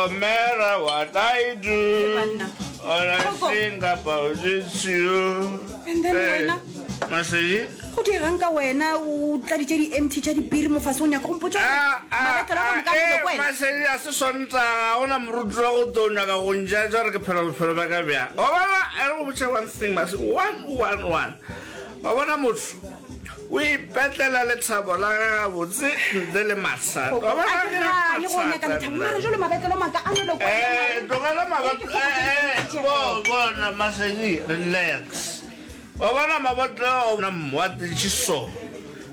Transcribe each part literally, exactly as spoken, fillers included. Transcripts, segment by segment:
No matter what I do, banna. all I Kgokong. think about is you. And then Hey, wena? Masedi? Go dirang ka wena o tladitše di-empty tša dipiri mo fase o nyaka go mpotša gore Ah, ah, mabetlelo a ah, ka moka a eh, nwele ko wena? Masedi a se Sontaga, ga gona moruti wa go tlo nyaka go njatša gore ke phela bophelo bja ka bjang. Wa bona, e re go botše one thing, Masedi, one, one, one. Wa bona motho o ipetlela lethabo la gage gabotse ntle le mathata. Wa bona A ke gane go nyaka lethabo, mara jwale mabetlelo maka a nwele ko wena. Eh, tlogela mabat- eh, eh, bo- bona, Masedi, relax. Wa bona mabotlelo a wa tletše so,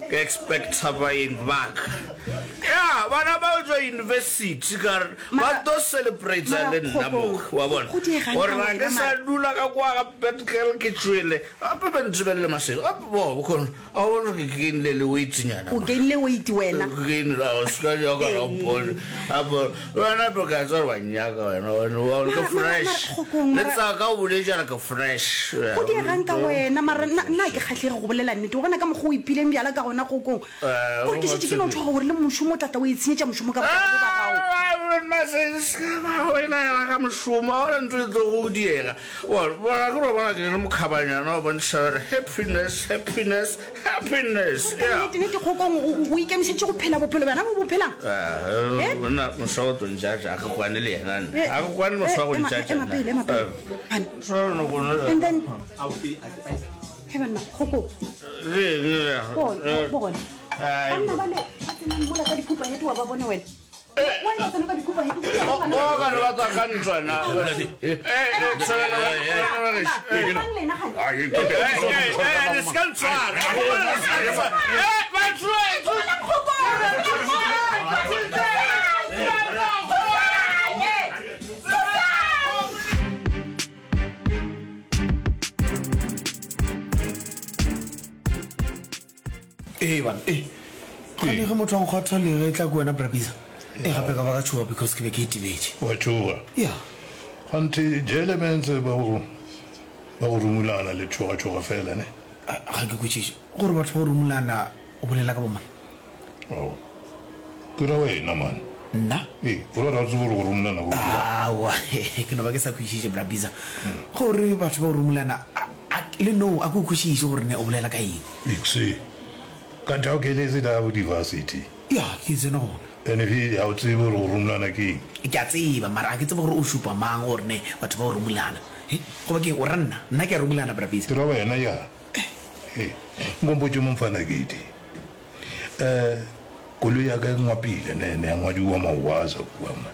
ke expecta baeng ba ka. Ya, bana ba tšwa university ka re ba tlo celebrate le nna mo, wa bona. Go diegang Gore ka ga wena, ke sa mara? dula ka kwa ga Petkel ke tšwele. Gape ba ntebelele Masedi. Gape bo, bokgoni, a o bone gore ke gainile le weight-nyana O mo. gainile weight wena. Ke gainile, a o se ka nyaka ra mpone. Gape wena gape ke a tseba gore wa nnyaka wena, wena wa ke Mara, mara, fresh. mara, Kgokong, Le mara. tsaka o boletše a re ke fresh. Go diegang ka wena, mara nna, nna ga ke kgahlege go bolela nnete. Wa bona ka mokgwa o ipileng bjala ka gona, Kgokong. Eh, Gore ke šetše ke no tšhoga gore le mošomo o tla tla o itshenyetša mošomo ka baka la bo ba gago. Mma wena ya ga mošomo, ga gona ntho e tlo go diega. Bona, bona, ke no bona ke le mokhabanyana wa bontšha gore happiness, happiness, happiness. Ka Yeah. nnete, nnete, Kgokong, o, o ikemišeditše go phela bophelo bjona bo bo phelang? Eh, monna, moswa o tlo ntšatša, ga ke kwane le yena nna. Eh, Ga ke kwane moswa go eh, ema, ntšatša ema nna. pele, ema pele. Eh. Bana. Moswa o no go nna- And then, he banna, Kgokong. Bona, bona. Banna bale ba tsenang mola ka dikhupa hete wa ba bona wena. Why ba tsena ka dikhupa hete? Ba ka re ba tswa ka ntwa na. Eh, eh, tshwela, Mang lena gane? Eh, le se ka ntshwara. Eh, batho, eh, Ee bana, ee. Gane ge motho a nkgwatha le ge e tla ke wena Brabisa. Ee gape ka ba ka tšhoga because ke be ke itebetše. Wa tšhoga? Ya. Kganthe jele mentse ba go ba go rumulana le tšhoga-tšhoga fela ne? Ga ke kwešiše. Gore batho ba go rumulana o bolela ka bomang? Ao. Ke ra wena man. Nna? Ee, o ra gore ga o tsebe gore go rumulana go dirang? Aowa, ke no ba ke sa kwešiše Brabisa. Gore batho ba go rumulana a, a, le no a ke o kwešiše gore ne o bolela ka eng. Ixi. Kanthe ga o keletse la bo di-varsity? Ya, ke tsene gona. And he, ga o tsebe gore go rumulana ke eng? Ke a tseba, mara ga ke tsebe gore o šupa mang gore ne batho ba go rumulana. He, goba ke eng, o ra nna? Nna ke a rumulana, Bra Bizza. Ke ra wena, ya. He, nko mpotše mo mfana Kedi. Eh, koloi ya ka e ngwapile, ne, ne ya ngwadiwa Mawaza kua man.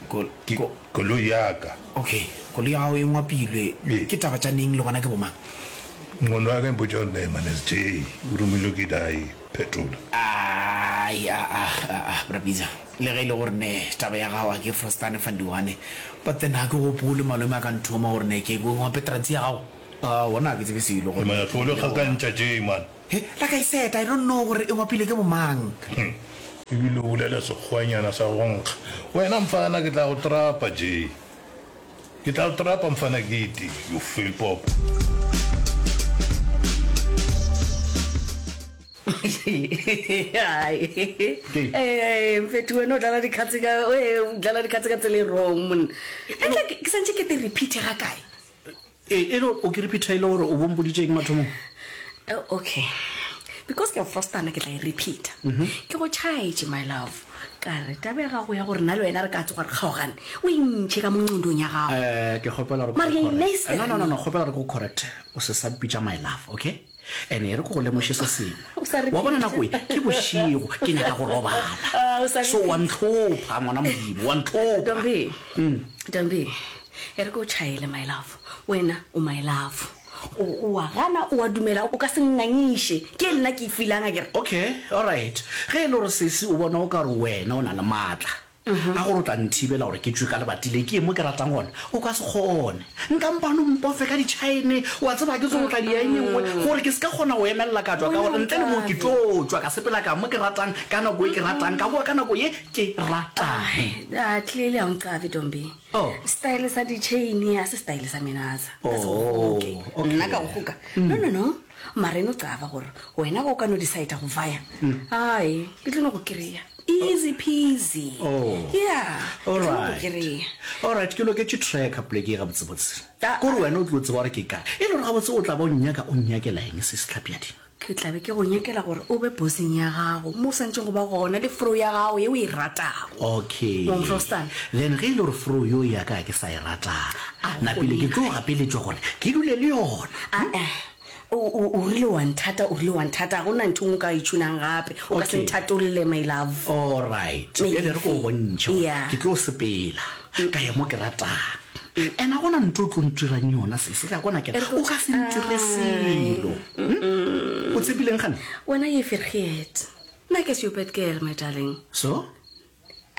Kol, Ke, ko. koloi ya ka. Okay, koloi ya gago e ngwapilwe. Ee. Ke taba tša neng le gona ke bomang? Ngqondo ya ka e mpotša gore ne man S J o romilwe ke dae phetola. Ai, a a, a a, Bra Bizza, le ge e le gore ne taba ya gago a ke frostane fandiwane, but then ga ke gopole malome a ka nthoma gore ne ke ngwape trantsi ya gago. Aowa, nna ga ke tsebe selo gore Man, tlo le gakantša J man. He, like I said, I don't know gore e ngwapile ke bomang. Hm, ebile o bolela sekgwanyana sa go nkga. Wena mfana ke tla go trapa J. Ke tla go trapa mfana Gidi, you feel pop. Ee, mfethu wena o dlala dikgatse ka ee, o dlala dikgatse ka tsela e wrong monna. Etle ke santse ke te repeat ga kae? Ee, e le o ke repeat e le gore o bompoditše eng mathomong? Oh, okay. Because ke a frostana ke tla e repeat. Ke go tšhaetše my love. Ka re taba ya gago ya gore nna le wena re ka tsoga re kgaogane, o e ntšhe ka mo nqondong ya gago. Eh, ke kgopela gore ke Mara go ya correct. inaisela No, no, no, nna. no, kgopela gore ke go correct. O se sa mpitša my love, okay? And e re ke go lemoše se sengwe. O sa Wa bona repeat. nako e, ke bošego, ke nyaka go robala. Ah, o sa So wa repeat. ntlhopha, ngwana Modimo, wa ntlhopha. Ntombi, Ntombi, e re ke o tšhaele my love. Wena o my love. O, o a gana, o a dumela, o ka se nngangiše. Ke e nna ke e feelang akere. Okay, alright. Ge e le gore sesi o bona o ka re wena o na le maatla a gore o tla nthibela gore ke tšwe ka lebati le ke ye mo ke ratang gona, o ka se kgone. Nka mpa no mpofe ka ditšhaene, wa tseba ke tlo go tla dia e nngwe gore ke se ka kgona go emelela ka tšwa ka gore ntle le moo ke tlo tšwa ka sepela ka mo ke ratang ka nako e ke ratang ka boa ka nako ye ke ratang. Ah, clearly ha o nqabe Ntombi. Oh. Style sa di-chain ha se style sa menatsa. Ka se Oh, go goke. okay. Nna ka go goka. No, no, no. Mara eno qaba gore wena o ka no decide go vaya. Ai, ke tlo no go kry-a. Easy peasy. Oh. Yeah. All Ke tlo go right. kry-a. All right, ke loketše tracker poleke ye gabotsebotse. Ah, Kore wena o tlo tseba gore ke kae. E le gore gabotse o tla ba o nnyaka o nnyakela eng se sehlapjadi? Ke tla be ke go nyakela gore o be boseng ya gago mo o swantšeng go ba gona le fro ya gago ye o e ratago. Okay. Wa mfrostana? Then ge e le gore fro yo ya ka ke sa e rata, A napile ke go tlo gapeletšwa gore ke dule le yona. Ah-eh. O, o, o rile wa nthata, o rile wa nthata. Ga go na ntho e nngwe o ka e tšhunang gape. O ka se Okay. nthatolle, my love. All right. Maybe. Bjale re ko o bontšhe gore Yeah. ke tlo sepela ka ya mo ke ratang. And a gona ntho o tlo ntirang yona sese, ka kona ke E re o ka se ntire selo. Hmm? O tshepileng gane? Wena ye vergeet. Nna ke se your bad girl, my darling. So?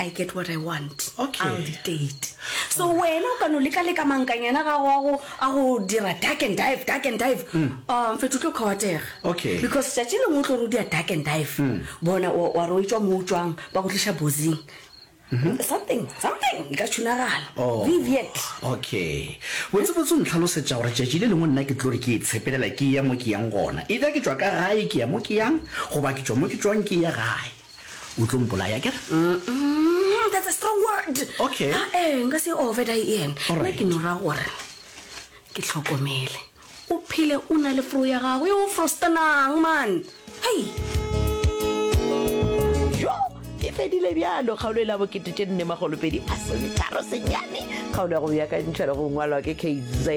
I get what I want. Okay. I'll dictate. So wena o ka no leka-leka mankanyana gago a go a go dira duck and dive, duck and dive. Um, fetho o tlo kgawatega. Okay. Because tšatši lengwe o tlo re o dia duck and dive. Bona wa wa re o etšwa mo o tšwang ba go tliša bosing. Something, something e ka tšhunagala. Oh. Viviet. Okay. Botsebotse o ntlhalosetša gore tšatši le lengwe nna ke tlo re ke itshepelela ke ya mo ke yang gona. Either ke tšwa ka gae ke ya mo ke yang, goba ke tšwa mo ke tšwang ke ya gae. O tlo mpolaya akere? Mm, that's a strong word. Okay. Ah, eh, nka se over die ene. All Nna right. ke no ra gore ke hlokomele. O phele o na le fro ya gago e o frostanang man. Hei. Jo, e fedile bjalo kgaolo e la bokete tše nne magolopedi a sometharo senyane kgaolo ya go beakantšhwa le go ngwalwa ke kz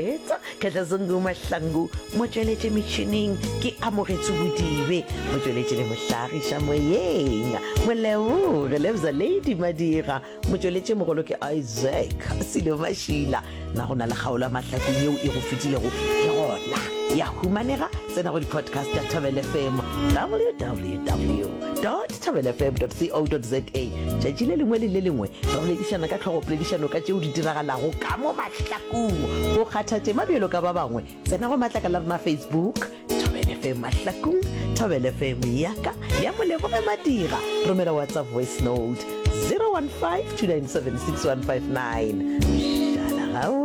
kgetlazungu mahlangu motsweletše metšhineng ke amogetse bodibe motsweletše le mohlagiša moyeng moleboge lebza lady madira motsweletše mogolo ke isaac selo mašila na go na le kgaolo ya mahlakong yeo e go fetilego ke gona ya humanega tsena go di-podcast tša Thobela F M W W W thobela F M co za tšatši le lengwe le le lengwe re boledišana ka tlhogopoledišano ka tšeo di diragalago ka mo mahlakong go kgatha tema bjalo ka ba bangwe tsena go matlakala rena Facebook Thobela F M Mahlakong Thobela F M yaka ya Moleboge Madira romela WhatsApp voice note zero one five two nine seven six one five nine šala gao.